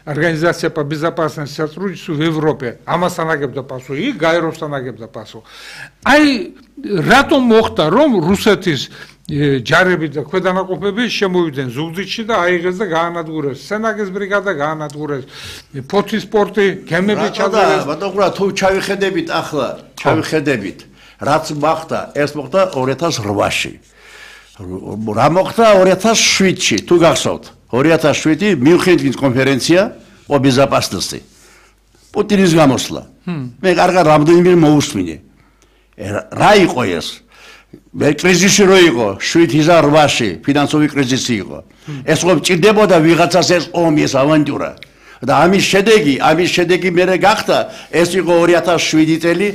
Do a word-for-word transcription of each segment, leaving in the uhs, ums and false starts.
Организация по безопасности и сотрудничеству в Европе. Амасанагебда пасу и Гайровстанагебда пасу. Ай ратом мохта ром русეთის ჯარები და ქვედანაყოფები შემოვიდნენ ზუგდიდში და აიღეს და გაანადგურეს. სენაგის ბრიგადა გაანადგურეს. ფოთის პორტი, გემები ჩაძერეს. ბატონო, ყურა თუ ჩავიხედებით ახლა, ჩავიხედებით, რაც მოხდა, ეს მოხდა ორი ათას ოთხში. რა მოხდა ორი ათას შვიდში, თუ გახსოვთ. ორი ათას შვიდი მიუნხენის კონფერენცია по безопасности. პუტინის გამოსვლა. მე კარგად რამდენიმე მოусმინე. რა იყო ეს? მე კრიზისი რო იყო შვიდ ათას ოთხში, ფინანსური კრიზისი იყო. ეს რომ ჭირდებოდა ვიღაცას ეს ომი, ეს ავანტურა. და ამის შედეგი, ამის შედეგი მერე გახდა, ეს იყო ორი ათას შვიდი წელი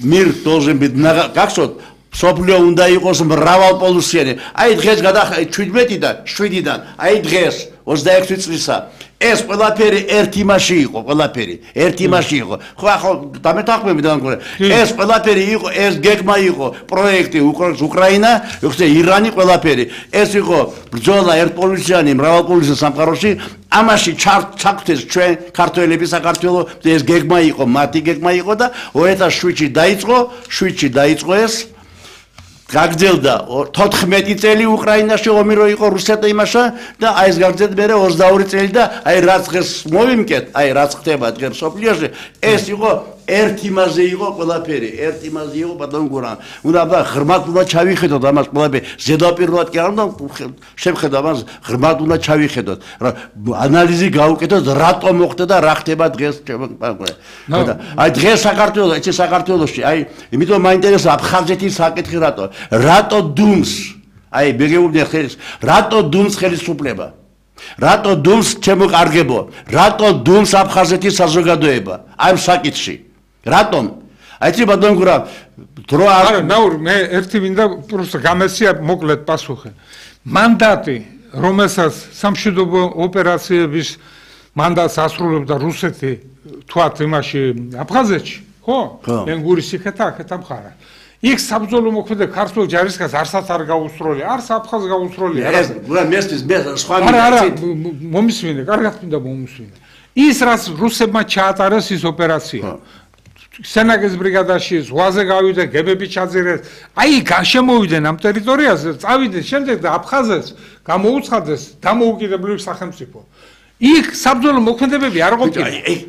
მირ დოზემბით გახსოვთ, სოფლიო უნდა იყოს მრავალპოლუსიანი. აი დღეს გადახდა შვიდმეტიდან, შვიდიდან, აი დღეს ოცდაექვსი წლისა. ეს ყველაფერი ერთ იმაში იყო, ყველაფერი ერთ იმაში იყო. ხო ახლა დამეთანხმები დამკვირვე. ეს ყველაფერი იყო, ეს გეგმა იყო, პროექტი უკრაინა, ხსე ირანი ყველაფერი. ეს იყო ბრძოლა ერთპოლუსიანი, მრავალპოლუსიანი სამყაროში. ამაში ჩაგვთეს ჩვენ ქართველები საქართველოს, ეს გეგმა იყო, მათი გეგმა იყო და ორი ათას შვიდში დაიწყო, შვიდში დაიწყო ეს გაგრძელდა თოთხმეტი წელი უკრაინაში ომი რო იყო რუსეთთან იმაშა და აი ეს გაგრძელდა მერე ოცდაორი წელი და აი რაც დღეს მოვიმკეთ, აი რაც ხდება დღეს სოფლიოში, ეს იყო ერთ იმაზე იყო ყველაფერი, ერთ იმაზე იყო ბატონ გურამ. უნდა ღრმად უნდა ჩავიხედოთ ამას ყველაფერი, ზედაპირულად კი არ უნდა შევხედოთ ამას, ღრმად უნდა ჩავიხედოთ. ანალიზი გავუკეთოთ, რატომ მოხდა და რა ხდება დღეს. აი დღეს საქართველოს, ეცე საქართველოში, აი იმიტომ მაინტერესებს აფხაზეთის საკითხი რატო? რატო დუმს? აი მეგეუბნე ხელის, რატო დუმს ხელისუფლება? რატო დუმს ჩემო კარგებო? რატო დუმს აფხაზეთის საზოგადოება? ამ საკითხში. რატომ? აიცი ბატონ გურამ, დრო არა, ნაურ, მე ერთი მინდა პროსტა გამესია მოკლედ პასუხი. მანდატი, რომელსაც სამშვიდობო ოპერაციების მანდატს ასრულებდა რუსეთი, თქვათ იმაში აფხაზეთში, ხო? ენგურის იქეთა, აქეთა მხარა. იქ საბრძოლო მოქმედება ქართულ ჯარისკაცს არსად არ გაუსროლია, არც აფხაზს გაუსროლია. ეს გურამ მესტის მე სხვა არა, არა, მომისმინე, კარგად მინდა მომისმინე. ის რაც რუსებმა ჩაატარეს ის ოპერაცია. სენაგის ბრიგადაში ზღვაზე გავიდნენ, გემები ჩაძირეს. აი შემოვიდნენ ამ ტერიტორიაზე, წავიდნენ შემდეგ და აფხაზეთს გამოუცხადეს დამოუკიდებლივ სახელმწიფო. იქ საბრძოლო მოქმედებები არ ყოფილა.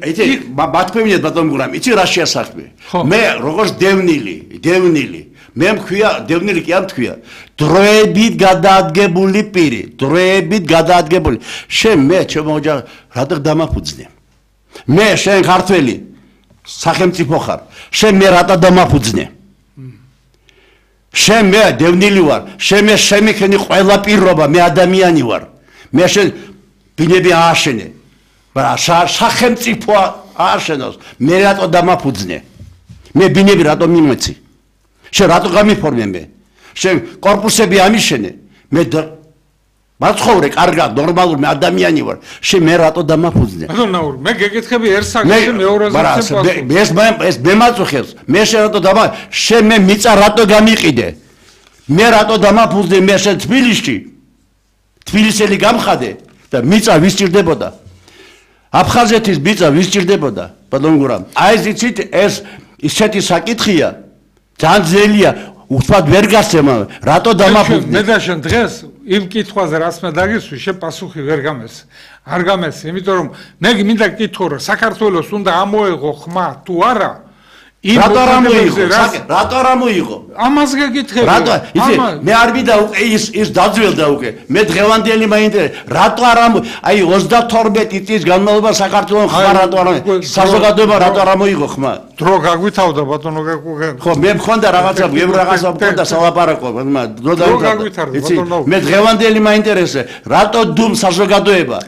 იცი, მათქვევინეთ ბატონ გურამ, იცი რა შეასახმე? მე როგორც დევნილი, დევნილი, მე მქვია, დევნილი კი არ მქვია, დროებით გადაადგებული პირი, დროებით გადაადგებული. შენ მე ჩემო ოჯახ რატო დამაფუძნე? მე შენ ქართველი სახელმწიფო ხარ. შენ მე რატო დამაფუძნე? შენ მე დევნილი ვარ, შენ მე შემიქენი ყველა პირობა, მე ადამიანი ვარ. მე შენ ბინები ააშენე. მაგრამ სახელმწიფო ააშენოს, მე რატო დამაფუძნე? მე ბინები რატო მიმეცი? შენ რატო გამიფორმე მე? შენ კორპუსები ამიშენე. მე მაცხოვრე კარგად, ნორმალურ მე ადამიანი ვარ. შენ მე რატო დამაფუძნე? ბატონ ნაური, მე გეკითხები ერთ საკითხი მეორეზე პასუხი. ეს ეს მე მაწუხებს. მე შენ რატო დამა შენ მე მიწა რატო გამიყიდე? მე რატო დამაფუძნე მე შენ თბილისში? თბილისელი გამხადე და მიწა ვის ჭირდებოდა? აფხაზეთის მიწა ვის ჭირდებოდა? ბატონ გურამ, აი ზიცით ეს ისეთი საკითხია, ძალიან ძნელია, უთმად ვერ გასცემა, რატო დამაფუძნე? მე და შენ დღეს იმ კითხვაზე რაც მე დაგისვი, შენ პასუხი ვერ გამეს. არ გამეს, იმიტომ რომ მე მინდა გკითხო, რომ საქართველოს უნდა ამოეღო ხმა თუ არა? რატო არ ამოიღო? რატო არ ამოიღო? ამას გეკითხები. რატო? იცი, მე არ მინდა უკვე ის ის დაძველდა უკვე. მე დღევანდელი მაინტერესებს, რატო არ ამო აი ოცდათორმეტი წლის განმავლობაში საქართველოს ხმა რატო არ ამოიღო? საზოგადოება რატო არ ამოიღო ხმა? დრო გაგვითავდა ბატონო გაგუგე. ხო, მე მქონდა რაღაცა, მე რაღაცა მქონდა სალაპარაკო, დრო დავითარდა. იცი, მე დღევანდელი მაინტერესებს, რატო დუმ საზოგადოება?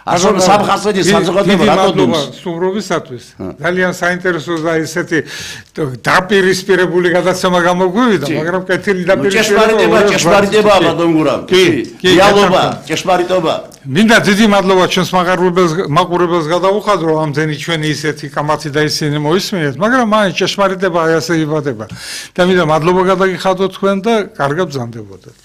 ასო სამხასოდი საზოგადოება რატო დუმს? სტუმრობისათვის ძალიან საინტერესო და ისეთი დაპირისპირებული გადაცემა გამოგვივიდა, მაგრამ კეთილი დაპირისპირება ჭეშმარიტებაა ბატონ გურამ. კი, რეალობა, ჭეშმარიტობა. მინდა დიდი მადლობა ჩვენს მაყურებელს მაყურებელს გადავუხადრო ამდენი ჩვენი ისეთი კამათი და ისინი მოისმინეთ, მაგრამ მაინც ჭეშმარიტება აი ასე იბადება. და მინდა მადლობა გადაგიხადოთ თქვენ და კარგად ბრძანდებოდეთ.